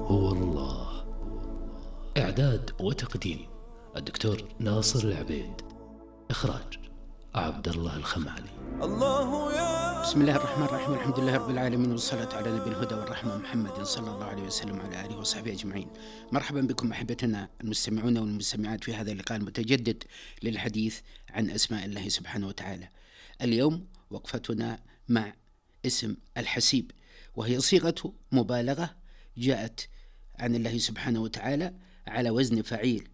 هو الله. إعداد وتقديم الدكتور ناصر العبيد. إخراج عبد الله الخمالي. بسم الله الرحمن الرحيم، الحمد لله رب العالمين، والصلاة على نبي الهدى والرحمة محمد صلى الله عليه وسلم وعلى آله وصحبه أجمعين. مرحبا بكم أحبتنا المستمعون والمستمعات في هذا اللقاء المتجدد للحديث عن أسماء الله سبحانه وتعالى. اليوم وقفتنا مع اسم الحسيب، وهي صيغة مبالغة جاءت عن الله سبحانه وتعالى على وزن فعيل،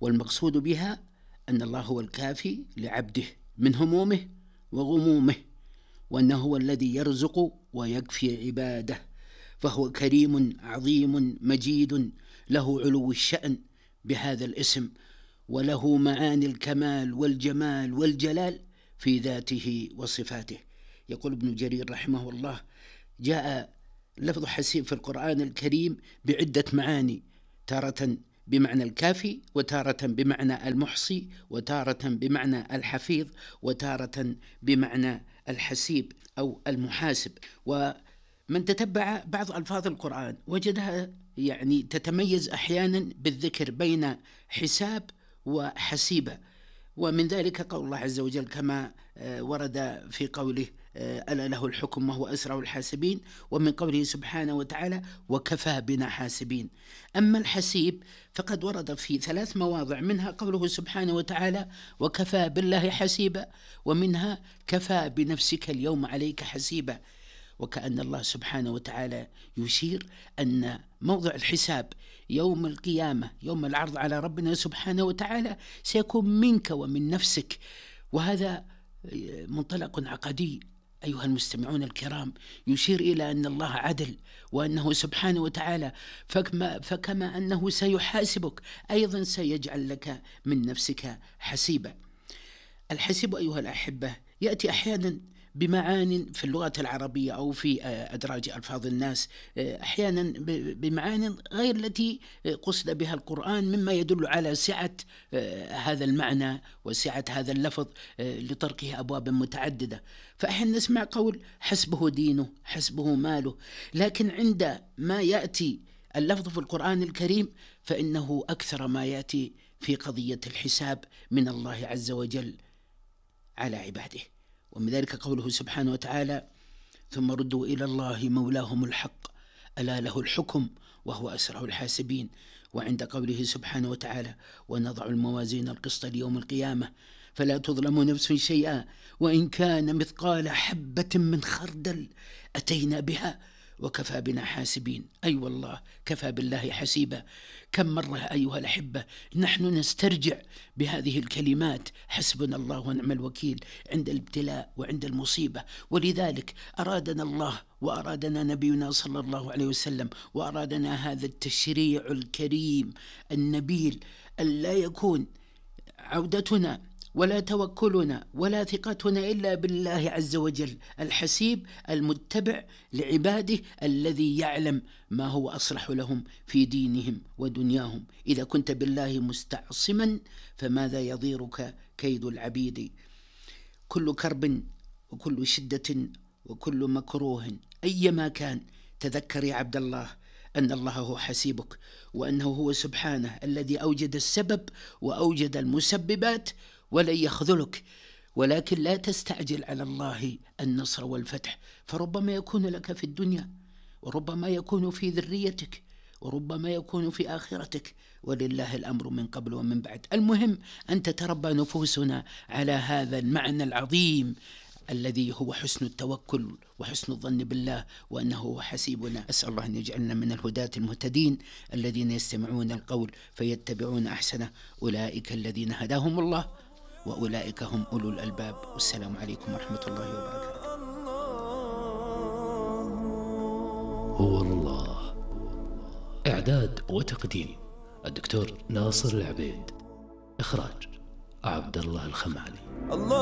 والمقصود بها أن الله هو الكافي لعبده من همومه وغمومه، وأنه هو الذي يرزق ويكفي عباده، فهو كريم عظيم مجيد له علو الشأن بهذا الاسم، وله معاني الكمال والجمال والجلال في ذاته وصفاته. يقول ابن جرير رحمه الله: جاء لفظ حسيب في القرآن الكريم بعدة معاني، تارة بمعنى الكافي، وتارة بمعنى المحصي، وتارة بمعنى الحفيظ، وتارة بمعنى الحسيب أو المحاسب. ومن تتبع بعض ألفاظ القرآن وجدها تتميز أحيانا بالذكر بين حساب وحسيبة، ومن ذلك قول الله عز وجل كما ورد في قوله: ألا له الحكم وهو أسرع الحاسبين، ومن قوله سبحانه وتعالى: وكفى بنا حاسبين. أما الحسيب فقد ورد في 3 مواضع، منها قوله سبحانه وتعالى: وكفى بالله حسيبا، ومنها: كفى بنفسك اليوم عليك حسيبا. وكأن الله سبحانه وتعالى يشير أن موضع الحساب يوم القيامة، يوم العرض على ربنا سبحانه وتعالى، سيكون منك ومن نفسك. وهذا منطلق عقدي أيها المستمعون الكرام، يشير إلى أن الله عدل، وأنه سبحانه وتعالى فكما أنه سيحاسبك أيضا سيجعل لك من نفسك حسيبا. الحسيب أيها الأحبة يأتي أحيانا بمعان في اللغة العربية أو في أدراج ألفاظ الناس، أحيانا بمعان غير التي قصد بها القرآن، مما يدل على سعة هذا المعنى وسعة هذا اللفظ لطرقه أبواب متعددة. فأحيانا نسمع قول حسبه دينه، حسبه ماله، لكن عند ما يأتي اللفظ في القرآن الكريم فإنه أكثر ما يأتي في قضية الحساب من الله عز وجل على عباده. ومن ذلك قوله سبحانه وتعالى: ثم ردوا إلى الله مولاهم الحق ألا له الحكم وهو أسرع الحاسبين. وعند قوله سبحانه وتعالى: ونضع الموازين القسط ليوم القيامة فلا تظلم نفس شيئا وإن كان مثقال حبة من خردل أتينا بها وكفى بنا حاسبين. أي والله كفى بالله حسيبا. كم مرة أيها الأحبة نحن نسترجع بهذه الكلمات: حسبنا الله ونعم الوكيل، عند الابتلاء وعند المصيبة. ولذلك أرادنا الله وأرادنا نبينا صلى الله عليه وسلم وأرادنا هذا التشريع الكريم النبيل أن لا يكون عودتنا ولا توكلنا ولا ثقتنا إلا بالله عز وجل الحسيب المتبع لعباده، الذي يعلم ما هو أصلح لهم في دينهم ودنياهم. إذا كنت بالله مستعصما فماذا يضيرك كيد العبيد؟ كل كرب وكل شدة وكل مكروه أيما كان، تذكر يا عبد الله أن الله هو حسيبك، وأنه هو سبحانه الذي أوجد السبب وأوجد المسببات ولن يخذلك. ولكن لا تستعجل على الله النصر والفتح، فربما يكون لك في الدنيا، وربما يكون في ذريتك، وربما يكون في آخرتك، ولله الأمر من قبل ومن بعد. المهم أن تتربى نفوسنا على هذا المعنى العظيم الذي هو حسن التوكل وحسن الظن بالله، وأنه هو حسيبنا. أسأل الله أن يجعلنا من الهداة المهتدين الذين يستمعون القول فيتبعون أحسنه، أولئك الذين هداهم الله وأولئك هم أولو الألباب. والسلام عليكم ورحمة الله وبركاته. هو الله. إعداد وتقديم الدكتور ناصر العبيد. إخراج عبد الله الخمالي.